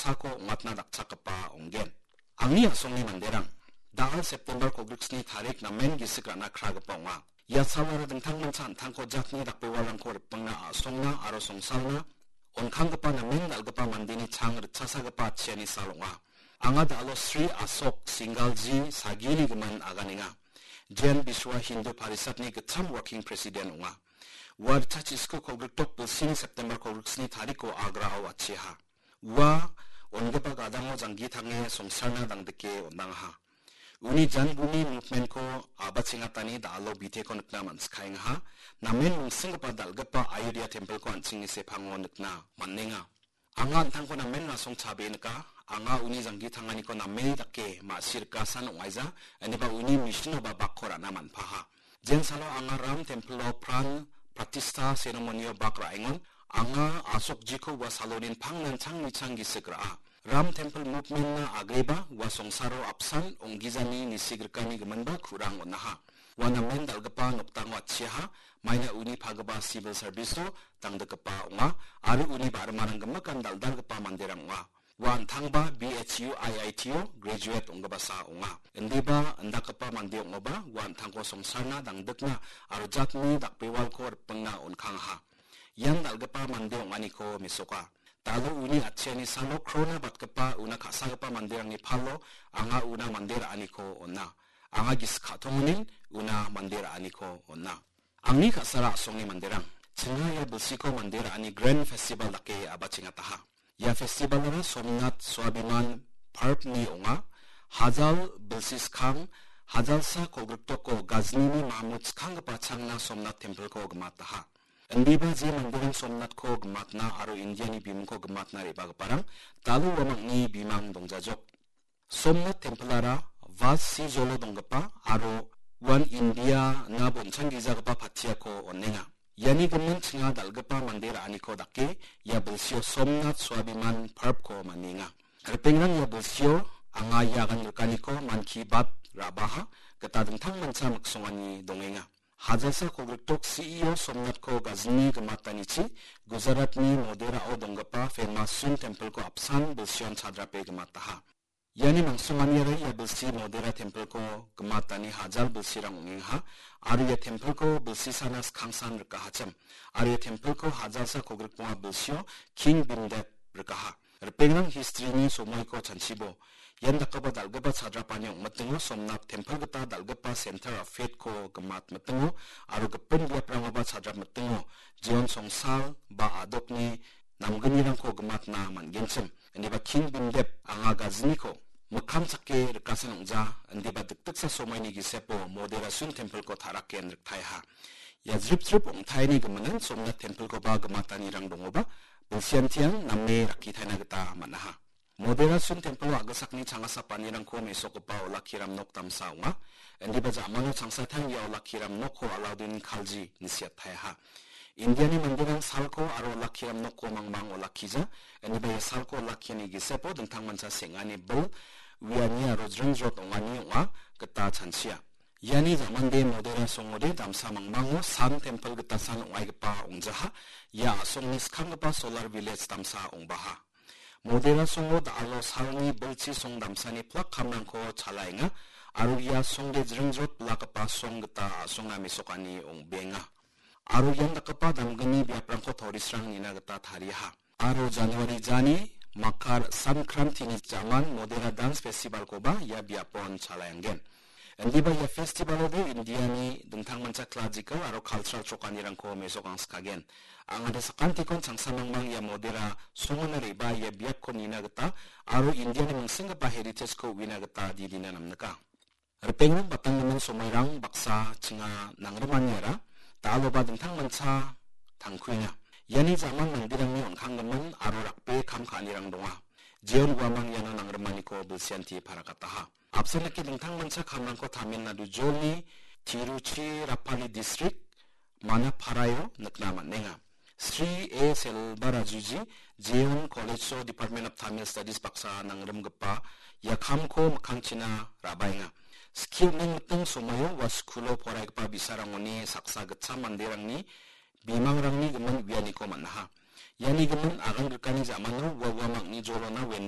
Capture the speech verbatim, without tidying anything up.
Ako ong·atna dakchakgipa ong·gen. Angni a·songni manderang, da·al September kolgriksni tarik namen gisik ra·na kragipa ong·a. Ia salara dingtangmancha an·tangko jatni dakbewalrangko ripengna a·songna aro songsalna on·kanggipa namen dal·gipa mandeni chang ritchasagipa atchiani sal ong·a. Anga da·alo Sri Asok Singalji sagini gimin aganenga. Jain Biswa Hindu Parishatni gitcham working president ong·a. Ua ritchachisku kolgrik dok bilsini September kolgriksni tariko Agrao atchiaha. Ua on·gipa gadango janggi tange songsarna dangdike on·angaha. Uni jangguni movement-ko a·bachengatani da·alo biteko nikna man·sikaengaha. Namen mingsinggipa dal·gipa Ayodhya tempel-ko an·chingni sepango nikna man·enga. Anga an·tangko namen rasong chabe nika. Anga uni janggi tanganiko name dake ma·si rikasan ong·aija, ineba uni mission-oba bakko ra·na man·paha. Jensalo anga Ram templo pran pratistha ceremony-o bak ra·engon, anga Asokjiko ua salonin pangnan chang nichang gisik ra·a. Ram tempel movement-na agreba ua songsaro apsan ong·gijani nisigrikani giminba kurang on·aha. Ua namen dal·gipa nokdango atchiaha, maina uni pagipa civil service-o dangdikgipa ong·a, aro uni ba·rimarang gimikan dal·dalgipa manderang ong·a. Ua an·tangba B H U I I T-o graduate ong·gipasa ong·a. Indiba indakgipa mande ong·oba ua an·tangko songsarna dangdikna aro jatni dakbewalko ripengna on·kangaha. Ian dal·gipa mande ong·aniko mesoka. Da·alo uni atchiani salo krona batgipa una ka·sagipa manderangni palo anga una mande ra·aniko on·a. Anga gisik ka·tongonin una mande ra·aniko on·a. Angni ka·sara a·songni manderang, chinga ia bilsiko mande ra·ani Grand Festival dake a·bachengataha. Ia festival-ara Somnath Swabiman Parb-ni ong·a. Hajal bilsi skang, hajalsa kolgrik doko Gaznini Mahmud skanggipa changna Somnath tempel-ko gimataha. Indiba je manderang Somnath-ko gimatna aro Indiani bimungko gimatna re·bagiparang da·alo uamangni bimang dongjajok. Somnath tempel-ara Vas Sijolo donggipa aro uan India-na bonchang gijagipa patiako on·enga. Iani gimin chinga dal·gipa mande ra·aniko dake ia bilsio Somnath Swabiman Parb-ko manienga. Ripengrang, ia bilsio anga ia agan rikaniko Mann Ki Baat ra·baha gita dingtangmancha miksongani dongenga. Hajalsa kolgrik dok C E O Somnath-ko Gazni gimatanichi Gujarat-ni Modera-o donggipa famous Sun tempel-ko apsan bilsion chadrape gimataha. Iani mangsonganiara ia bilsi Modera tempel-ko gimatani hajal bilsirang ong·engaha, aro ia tempel-ko bilsisana skangsan rikahachim, aro ia tempel-ko hajalsa kolgrikbonga bilsio King Bhimdev rikaha. Ripengrang history-ni somoiko chanchibo. Ian dakgipa dal·gipa chadrapani ong·mitingo Somnath tempel gita dal·gipa Center of Faith-ko gimat mitingo aro gipin biaprangoba chadrap mitingo jeon songsal ba a·dokni namgnirangko gimatna man·genchim. Indiba King Bhimdev anga Gazniko mikkang chake rikasen ong·ja, indiba dikdiksa somoini gisepo Modera Sun tempel-ko taraken riktaeha. Ia jrip jrip ong·taini giminan Somnath tempel-koba gimatanirang dongoba, bilsiantian name rakkitaina gita man·aha. Modera Sun tempelo a·gisakni changasapanirangko mesokgipa olakkiram nok damsa ong·a. Indiba ja·mano changsatang ia olakkiram nokko Alauddin Khalji inisiataeha. Indiani manderang salko aro olakkiram nokko mangmang olakkija. Indiba ia salko olakkiani gisepo dingtangmancha seng·ani bil, uiani aro jringjrot ong·ani ong·a gita chanchia. Iani ja·mande Modera songode damsa mangmango San tempel gitasan ong·aigipa ong·jaha. Ia a·songni skanggipa Solar Village damsa ong·baha. Modera songo da·alo salni bilchi song damsani plak kamrangko chalaenga, aro ia songde jringjrot bilakgipa song gita a·songna mesokani ong·benga. Aro ian dakgipa damgni biaprangko tourist-rang nina gita tariaha. Aro January jani Makar Sankrantini ja·man Modera Dance Festival-koba ia biapon chalaenggen. Indiba ia festival-ode Indiani dingtangmancha classical aro cultural chokanirangko mesokangskagen. Angade sakantikon changsa mangmang ia Modera songona re·baa ia biapko nina gita aro Indiani mingsenggipa heritage-ko uina gita didina namnika. Ripengrang, batanggimin somoirang baksa chinga nangrimaniara da·aloba dingtangmancha tangkuenga. Iani ja·man manderangni on·kanggimin aro rakbe kam ka·anirang donga. Jeon uamang iano nangrimaniko bilsianti parakataha. Apsan dake dingtangmancha kamrangko Tamil Nadu jolni Tiruchirappalli distrik Manaparaio nikna man·enga. Sri A Selvarajuji, Jeon College-o Department of Tamil Studies baksa nangrimgipa ia kamko mikkangchina ra·baenga. Skie on·eng miting somoio ua skulo poraigipa bi·sarangoni saksa gitcham manderangni bimangrangni gimin uianiko man·aha. Iani gimin agan grikani ja·mano ua uamangni jolona wen